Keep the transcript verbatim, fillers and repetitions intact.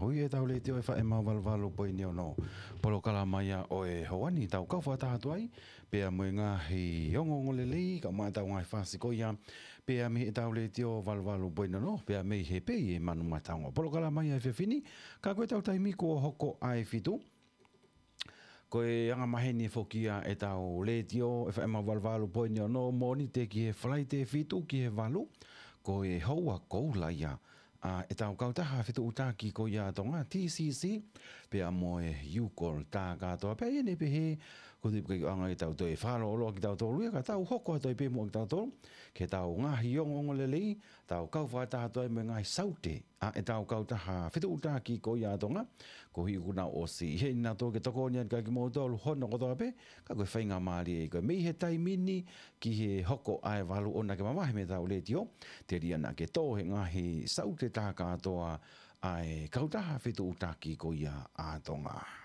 Ui ʻetau letiō ʻe fā ʻe mau valu valu poini ono. Polokalama ia ʻo e houa ni tau kau fakataha atu ai, pea mo e ngaahi ongoongolelei, kae ʻumaʻā ʻetau ngaahi fasi ko ia, pea mei heʻetau letiō valu valu poini ono, pea mei he pei e Manu Mataongo. Polokalama ia he efiafi ni, ka ko ʻetau taimi kuo hoko ʻa e fitu. Ko e angamaheni foki ia ʻetau letiō, ʻe fā ʻe mau valu valu poini ono, Mōnite ki he Falaite fitu ki he valu, ko e houa koula ia ʻa ʻetau kautaha fetuʻutaki ko ia ʻa Tonga, T C C, pea mo e Yukol tā kātoa. Pea ʻi heʻene pehē, ko e tuʻu pē ke ʻoange ʻetau toe fakalōloa kitautolu ia, ka tau hoko atu ai pē muʻa kitautolu, ke tau ngaahi ongoongolelei, tau kau fakataha atu ai mo e ngaahi saute ʻa ʻetau kautaha fetuʻutaki ko ia ʻa Tonga, koeʻuhi kuo nau ʻosi ʻi heni nautolu ke tokoni atu kiate kimoutolu hono kotoa pē, ka ko e faingamālie ia ko e mei he taimi ni ki he hoko ʻa e valu ʻo na ke mavahe mei heʻetau letiō, telia naʻa ke tō he ngaahi saute tā kātoa ʻa e kautaha fetuʻutaki ko ia ʻa Tonga.